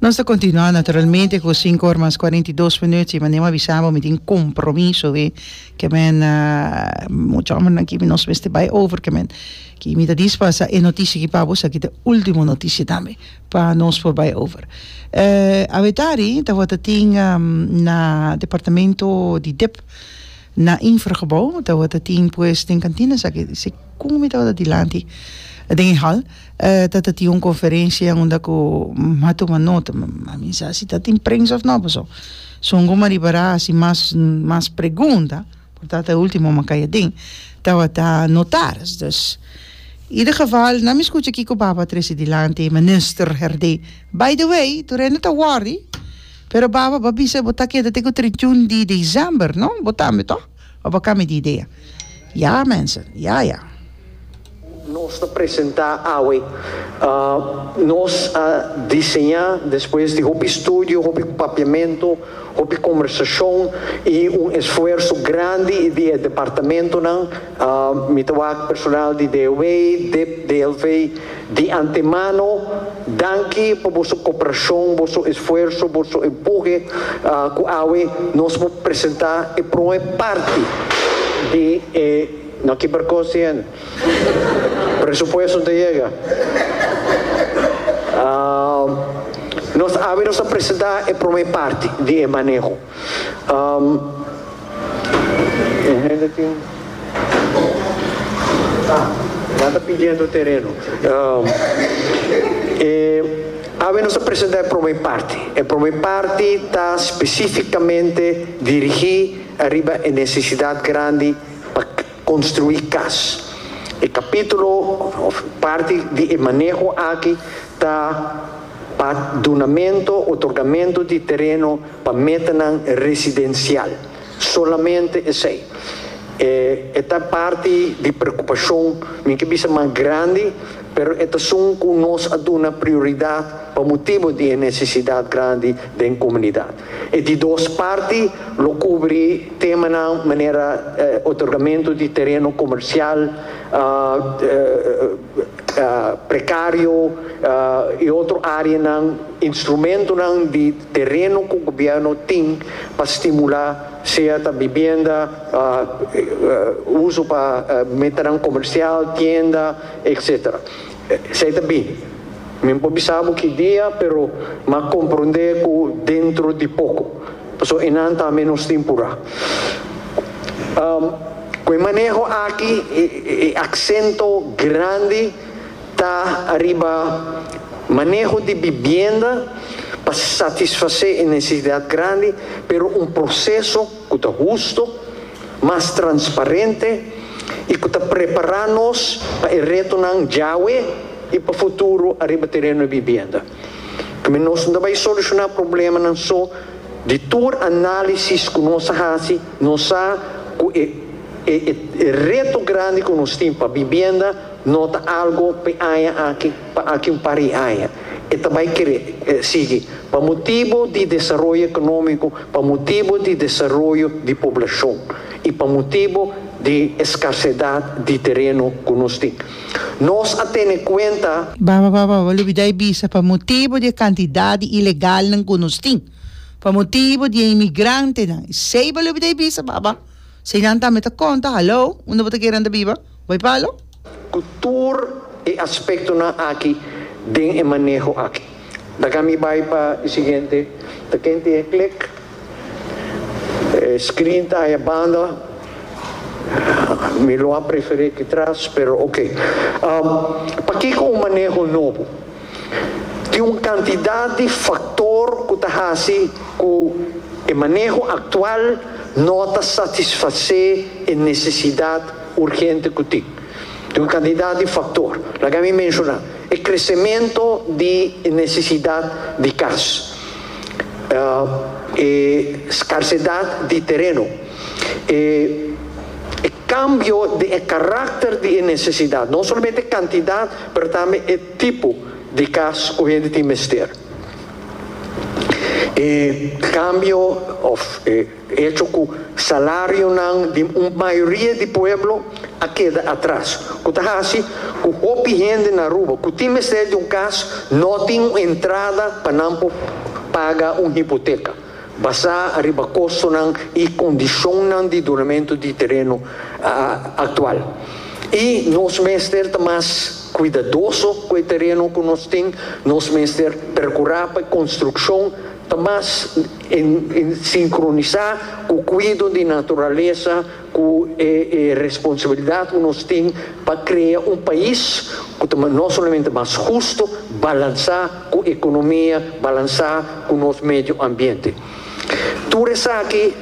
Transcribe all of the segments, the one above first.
Nos ta continua naturalmente cu cinco or mas 42 minuut y manera mi a bisa bo mi tin compromiso we ke men mucha hombernan aki nos mester bay over ke men ki mi ta dispasa e noticia aki pa bo esaki ta e ultimo noticia tambe pa nos por bay over. Awetari tabata tin na departamento di dip na Infragebouw tabata tin pues den kantina esaki segun mi tabata dilanti den e hal. Tata tin un conferencia unda cu a tuma nota, ma mi sa si ta tin prensa of no paso son cu maribara haci mas mas pregunta por ta ta e ultimo ma cay aden tabata notaris dus ieder geval na mi scucha kico baba a trece dilanti minister Herdé by the way tur hende ta worry pero baba bo a bisa bo ta keda te cu 31 di december no bo tambe toch? Of a cambia di idea? Ya mensen, ya ya. Nos ta presentá awe. Nos a diseñá despues di hopi studio, hopi papiamentu, hopi kombersashon i un esfuerso grandi di e departamentonan. Mi ta wak personal di DOW, dip, DLV di antemano danki pa boso koperashon, boso esfuerso, boso empuhe ku awe nos por presentá e promé parti di e. No kiber kos di hende. Presupuesto no ta yega. Nos awe nos ta presenta e prome parti di e maneho. E hende tin Ah, nan ta pidiendo tereno. E awe nos ta presenta e prome parti. E prome parti ta specificamente dirigi ariba e necesidad grandi pa construi cas. E capitulo of parti di e maneho aki ta pa dunamento, otorgamento di tereno pa metanan residencial. Solamente esey. E e ta parti di preocupacion, mi ke bisa mas grandi, pero e ta esun cu nos a duna prioridad pa motibo di e necesidad grandi den comunidad. E di dos parti lo kubri temanan manera otorgamentu di tereno komersial prekario i otro áreanan, instrumentonan di tereno ku gobièrnu tin pa stimulá sea ta bibienda, uso pa metanan komersial, tienda, etcetera. Esei ta bini. Mi no por bisa bo ki dia, pero m'a komprondé ku dentro di poko. Pasobra enan tambe nos tin purá. Ku e maneho aki, e aksento grandi ta ariba maneho di bibienda pa satisfasé e nesesidat grandi, pero un proseso ku ta husto, mas transparente i ku ta prepará nos pa e retonan djawe i pa futuro ariba tereno di bibienda. Keme nos no ta bai solushoná problemanan so di tur análisis ku nos a hasi, nos sa ku e e reto grandi ku nos tin pa bibienda no ta algo pa e aña aki, pa aki un par di aña. E ta bai kere sigui pa motibu di desaroyo ekonómiko, pa motibu di desaroyo di poblashon i pa motibu di eskarsedat di tereno ku nos tin. Nos a tene kuenta. Baba baba bo lubida e bisa pa motibu di e kantidat di ilegalnan ku nos tin, pa motibu di e imigrantenan. Esei bo lubida e bisa baba. Si nan tambe ta konta, hallo, unda bo ta kere nan ta biba? Bai palo? Ku tur e aspektonan aki den e maneho aki. Laga mi bai pa e siguiente. Ta ken tin e klik? E screen ta aya banda. Mi lo a preferí aki tras, pero ok. Pakiko un maneho nobo? Tin un kantidat di faktor ku ta hasi ku e maneho aktual no ta satisfasé e nesesidat urgente ku tin. Tin un kantidat di faktor. Laga mi menshoná, e kresementu di e nesesidat di kas, e skarsedat di tereno, e e kambio den e karakter di e nesesidat, no solamente e kantidat pero tambe e tipo di kas ku hende tin mester. E kambio òf e echo ku salarionan di un mayoria di pueblo a keda atras, ku ta hasi ku hopi hende na Aruba ku tin mester di un kas no tin un entrada pa nan por paga un hipoteka, basá riba kostonan i kondishonnan di dunamentu di tereno aktual. I nos mester ta mas kuidadoso ku e tereno ku nos tin, nos mester perkurá pa e konstrukshon ta mas sinkronisá ku kuido di naturalesa, ku e responsabilidat ku nos tin pa krea un pais ku ta no solamente mas husto, balansá ku ekonomia, balansá ku nos medio ambiente. Tur esaki,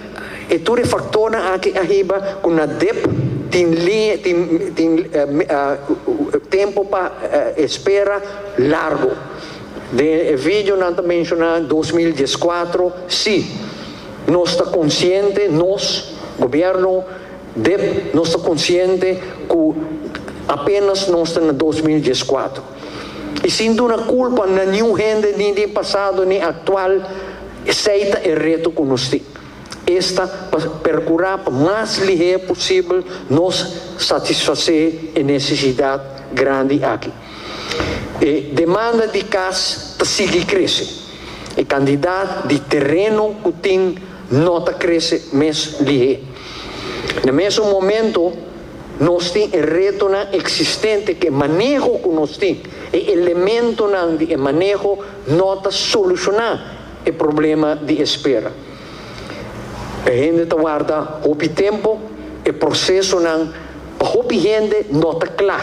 e tur e faktornan aki a hiba ku na dep tin liña, tin tin tempu pa espera largu. Den e video nan ta menshoná 2014, sí, nos ta konsiente, nos, gobièrnu, dep, nos ta konsiente ku apenas nos ta na 2014. I sin duna kulpa na niun hende ni di pasado ni aktual, Esei ta e reto ku nos tin, esta pa perkurá pa mas lihé posibel nos satisfasé e nesesidat grandi aki. E demanda di kas ta sigui krese. E kantidat di tereno ku tin no ta krese mes lihé. Na mesun momento nos tin e retonan eksistente ku e maneho ku nos tin, e elementonan di e maneho no ta solushoná e problema di espera. E hende ta warda hopi tempu, e prosesonan pa hopi hende no ta kla.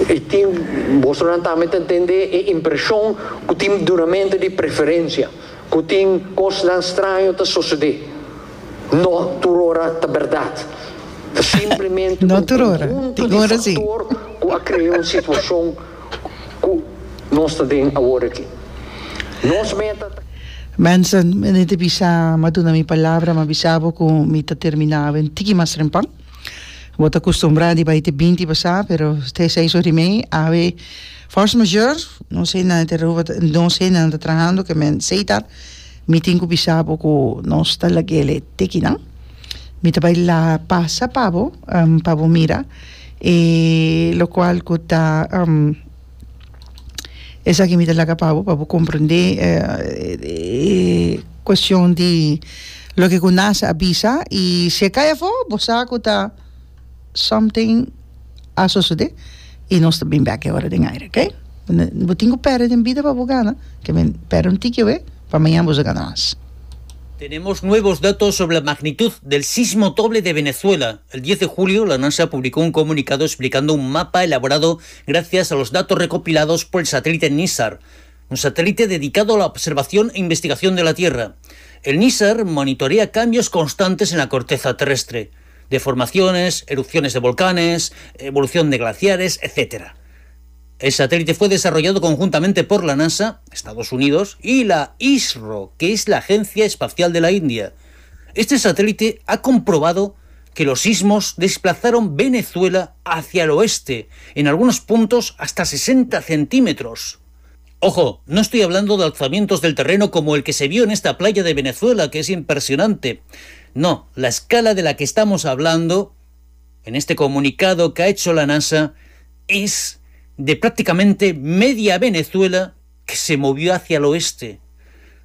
I tin, bosonan tambe ta entende e impreshon ku tin dunamentu di preferensia, ku tin kosnan straño ta sosodé. No tur ora ta bèrdat. Ta simplemente No un tur ora, konhunto tin di ora sí. faktor ku a krea un situashon Ku nos ta den awor aki. Nos meta ta. Mensen, mi ta bisa, m'a duna mi palabra, m'a bisa bo ku mi ta terminá awe un tiki mas trempan. Bo ta kustumbrá di bai te binti pasá, pero te seis ora i mei. Awe force majeure, nos hendenan ta Aruba, nos hendenan ta trahando ke men seita. Mi tin ku bisa bo ku nos ta lag'el te kinan. Mi ta bai la pasa pa bo, pa bo mira. E locual cu ta esaki mi ta laga pa bo, pa bo comprende e cuestion di loke cu NASA a bisa y si e cay afo bo sa cu ta something a sosode y nos ta bin bek e ora den aire, ok? Bo tin cu perde den bida pa bo gana, ke men perde un tiki awe pa mañana bo sa gana mas. Tenemos nuevos datos sobre la magnitud del sismo doble de Venezuela. El 10 de julio, la NASA publicó un comunicado explicando un mapa elaborado gracias a los datos recopilados por el satélite NISAR, un satélite dedicado a la observación e investigación de la Tierra. El NISAR monitorea cambios constantes en la corteza terrestre, deformaciones, erupciones de volcanes, evolución de glaciares, etc. El satélite fue desarrollado conjuntamente por la NASA, Estados Unidos, y la ISRO, que es la Agencia Espacial de la India. Este satélite ha comprobado que los sismos desplazaron Venezuela hacia el oeste, en algunos puntos hasta 60 centímetros. Ojo, no estoy hablando de alzamientos del terreno como el que se vio en esta playa de Venezuela, que es impresionante. No, la escala de la que estamos hablando en este comunicado que ha hecho la NASA es de prácticamente media Venezuela que se movió hacia el oeste,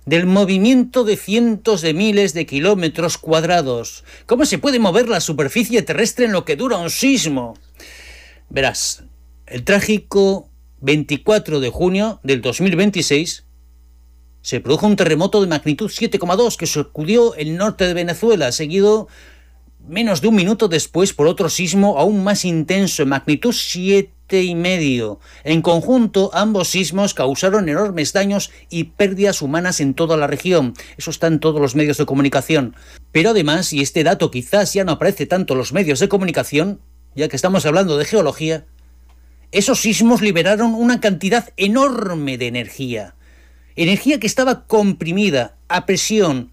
del movimiento de cientos de miles de kilómetros cuadrados. ¿Cómo se puede mover la superficie terrestre en lo que dura un sismo? Verás, el trágico 24 de junio del 2026 se produjo un terremoto de magnitud 7,2 que sacudió el norte de Venezuela, seguido menos de un minuto después por otro sismo aún más intenso, en magnitud 7,5. En conjunto, ambos sismos causaron enormes daños y pérdidas humanas en toda la región. Eso está en todos los medios de comunicación. Pero además, y este dato quizás ya no aparece tanto en los medios de comunicación, ya que estamos hablando de geología, esos sismos liberaron una cantidad enorme de energía. Energía que estaba comprimida a presión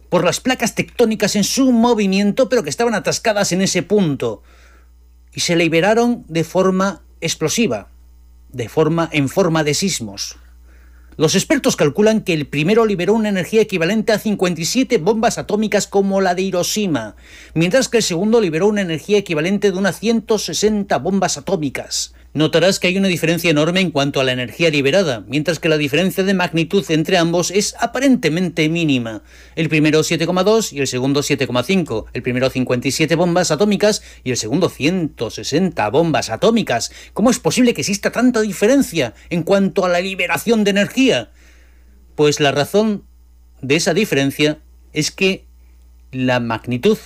por las placas tectónicas en su movimiento, pero que estaban atascadas en ese punto. Y se liberaron de forma explosiva, de forma, en forma de sismos. Los expertos calculan que el primero liberó una energía equivalente a 57 bombas atómicas como la de Hiroshima, mientras que el segundo liberó una energía equivalente de unas 160 bombas atómicas. Notarás que hay una diferencia enorme en cuanto a la energía liberada, mientras que la diferencia de magnitud entre ambos es aparentemente mínima. El primero 7,2 y el segundo 7,5. El primero 57 bombas atómicas y el segundo 160 bombas atómicas. ¿Cómo es posible que exista tanta diferencia en cuanto a la liberación de energía? Pues la razón de esa diferencia es que la magnitud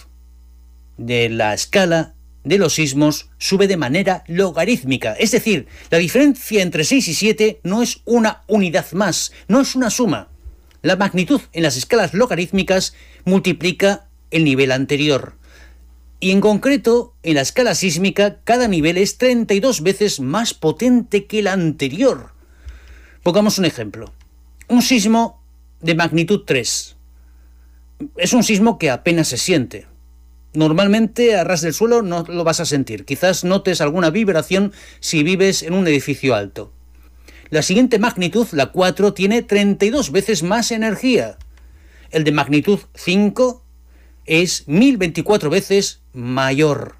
de la escala de los sismos sube de manera logarítmica. Es decir, la diferencia entre 6 y 7 no es una unidad más, no es una suma. La magnitud en las escalas logarítmicas multiplica el nivel anterior. Y en concreto, en la escala sísmica, cada nivel es 32 veces más potente que el anterior. Pongamos un ejemplo. Un sismo de magnitud 3. Es un sismo que apenas se siente. Normalmente a ras del suelo no lo vas a sentir. Quizás notes alguna vibración si vives en un edificio alto. La siguiente magnitud, la 4, tiene 32 veces más energía. El de magnitud 5 es 1024 veces mayor.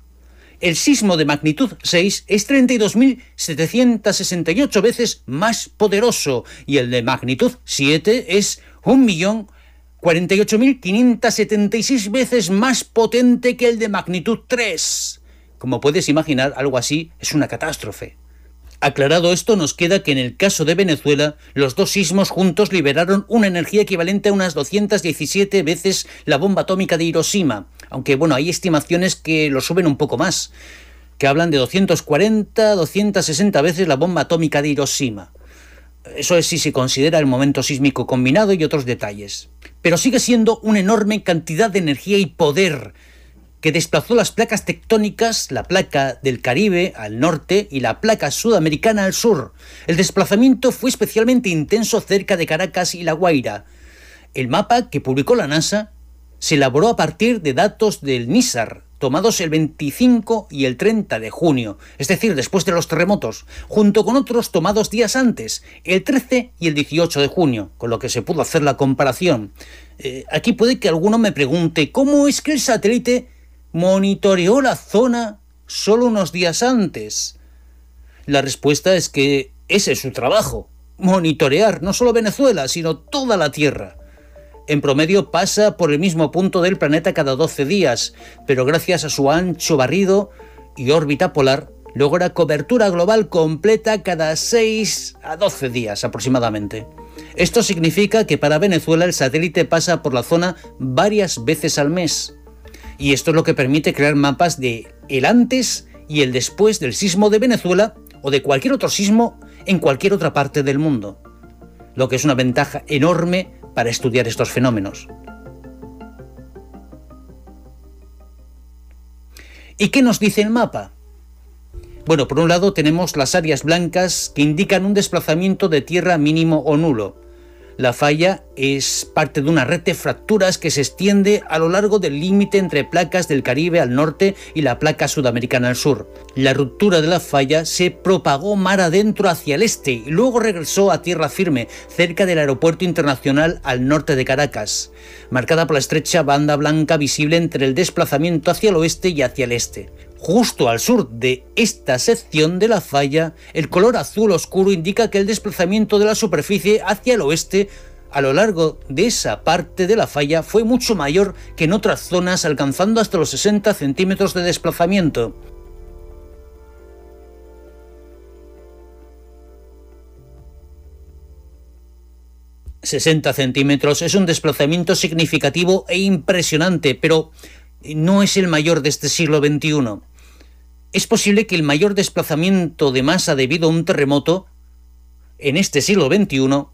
El sismo de magnitud 6 es 32.768 veces más poderoso y el de magnitud 7 es 1.048.576 veces más potente que el de magnitud 3. Como puedes imaginar, algo así es una catástrofe. Aclarado esto, nos queda que en el caso de Venezuela, los dos sismos juntos liberaron una energía equivalente a unas 217 veces la bomba atómica de Hiroshima, aunque bueno, hay estimaciones que lo suben un poco más, que hablan de 240, 260 veces la bomba atómica de Hiroshima. Eso es si se considera el momento sísmico combinado y otros detalles. Pero sigue siendo una enorme cantidad de energía y poder que desplazó las placas tectónicas, la placa del Caribe al norte y la placa sudamericana al sur. El desplazamiento fue especialmente intenso cerca de Caracas y La Guaira. El mapa que publicó la NASA se elaboró a partir de datos del NISAR, tomados el 25 y el 30 de junio, es decir, después de los terremotos, junto con otros tomados días antes, el 13 y el 18 de junio, con lo que se pudo hacer la comparación. Aquí puede que alguno me pregunte, ¿cómo es que el satélite monitoreó la zona solo unos días antes? La respuesta es que ese es su trabajo, monitorear no solo Venezuela, sino toda la Tierra. En promedio pasa por el mismo punto del planeta cada 12 días, pero gracias a su ancho barrido y órbita polar, logra cobertura global completa cada 6 a 12 días aproximadamente. Esto significa que para Venezuela el satélite pasa por la zona varias veces al mes. Y esto es lo que permite crear mapas de el antes y el después del sismo de Venezuela o de cualquier otro sismo en cualquier otra parte del mundo, lo que es una ventaja enorme para estudiar estos fenómenos. ¿Y qué nos dice el mapa? Bueno, por un lado tenemos las áreas blancas que indican un desplazamiento de tierra mínimo o nulo. La falla es parte de una red de fracturas que se extiende a lo largo del límite entre placas del Caribe al norte y la placa sudamericana al sur. La ruptura de la falla se propagó mar adentro hacia el este y luego regresó a tierra firme, cerca del aeropuerto internacional al norte de Caracas, marcada por la estrecha banda blanca visible entre el desplazamiento hacia el oeste y hacia el este. Justo al sur de esta sección de la falla, el color azul oscuro indica que el desplazamiento de la superficie hacia el oeste a lo largo de esa parte de la falla fue mucho mayor que en otras zonas, alcanzando hasta los 60 centímetros de desplazamiento. 60 centímetros es un desplazamiento significativo e impresionante, pero no es el mayor de este siglo XXI. Es posible que el mayor desplazamiento de masa debido a un terremoto en este siglo XXI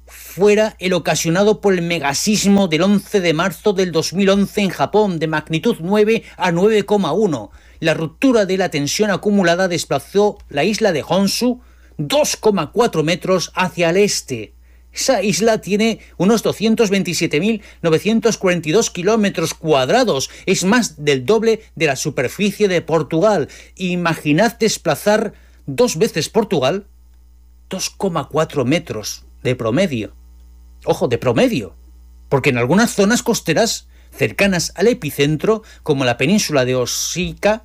fuera el ocasionado por el megasismo del 11 de marzo del 2011 en Japón, de magnitud 9 a 9,1. La ruptura de la tensión acumulada desplazó la isla de Honshu 2,4 metros hacia el este. Esa isla tiene unos 227.942 kilómetros cuadrados. Es más del doble de la superficie de Portugal. Imaginad desplazar dos veces Portugal, 2,4 metros de promedio. Ojo, de promedio, porque en algunas zonas costeras cercanas al epicentro, como la península de Osika,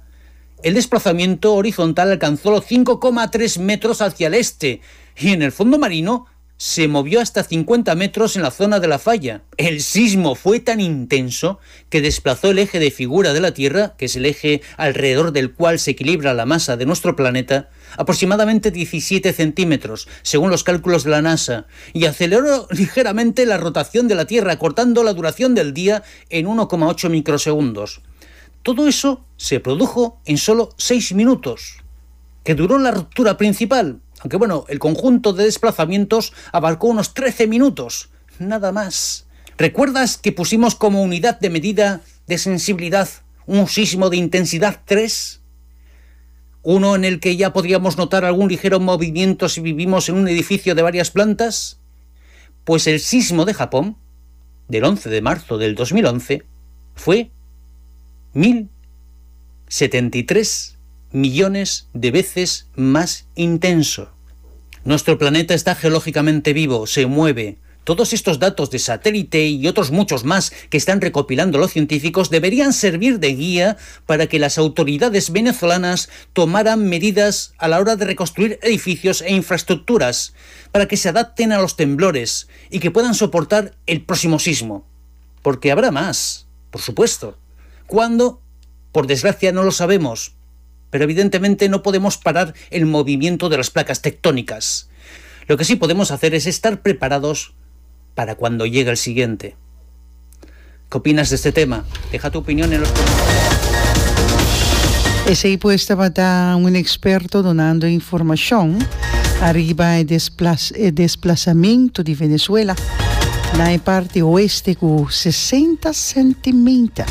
el desplazamiento horizontal alcanzó los 5,3 metros hacia el este y en el fondo marino se movió hasta 50 metros en la zona de la falla. El sismo fue tan intenso que desplazó el eje de figura de la Tierra, que es el eje alrededor del cual se equilibra la masa de nuestro planeta, aproximadamente 17 centímetros, según los cálculos de la NASA, y aceleró ligeramente la rotación de la Tierra, cortando la duración del día en 1,8 microsegundos. Todo eso se produjo en solo 6 minutos, que duró la ruptura principal, aunque bueno, el conjunto de desplazamientos abarcó unos 13 minutos, nada más. ¿Recuerdas que pusimos como unidad de medida de sensibilidad un sismo de intensidad 3? Uno en el que ya podríamos notar algún ligero movimiento si vivimos en un edificio de varias plantas. Pues el sismo de Japón, del 11 de marzo del 2011, fue 1073 millones de veces más intenso. Nuestro planeta está geológicamente vivo, se mueve. Todos estos datos de satélite y otros muchos más que están recopilando los científicos deberían servir de guía para que las autoridades venezolanas tomaran medidas a la hora de reconstruir edificios e infraestructuras, para que se adapten a los temblores y que puedan soportar el próximo sismo. Porque habrá más, por supuesto. ¿Cuándo? Por desgracia no lo sabemos, pero evidentemente no podemos parar el movimiento de las placas tectónicas. Lo que sí podemos hacer es estar preparados para cuando llegue el siguiente. ¿Qué opinas de este tema? Deja tu opinión en los comentarios. Esey pues tabata un experto dunando informacion ariba e e desplazamiento di Venezuela na e parti oeste cu 60 centimeter.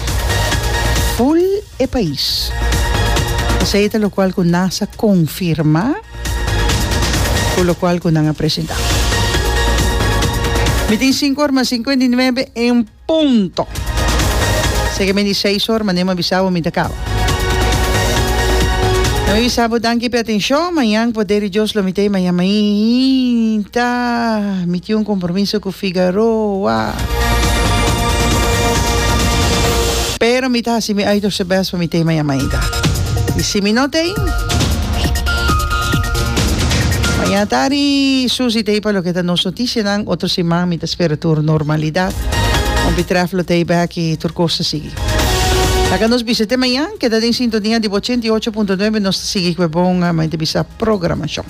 Full e pais. Esey ta locual cu NASA confirma cu locual cu nan a presenta. Mi tin sinku or mas 59 en punto. Seke mi di seis or, manera mi a bisa bo mi ta caba. Mi bisa bo danki p'e atencion. Mañan poder di Dios lo mi ta ei mañan mainta. Mi tin un compromiso cu Figaroa. Pero mi ta haci mi uiterste best pa mi ta ei mañan mainta. Y si mi no ta ei, mañan tardi Susie ta ei pa loke ta nos noticianan. Otro siman mi ta spera tur normalidad. Hompi Tref lo ta ei bek y tur cos ta sigui. Laga nos bisa te mañan. Keda den sintonia di bo 88.9. Nos ta sigui cu e bon, mi ta bisa, programacion.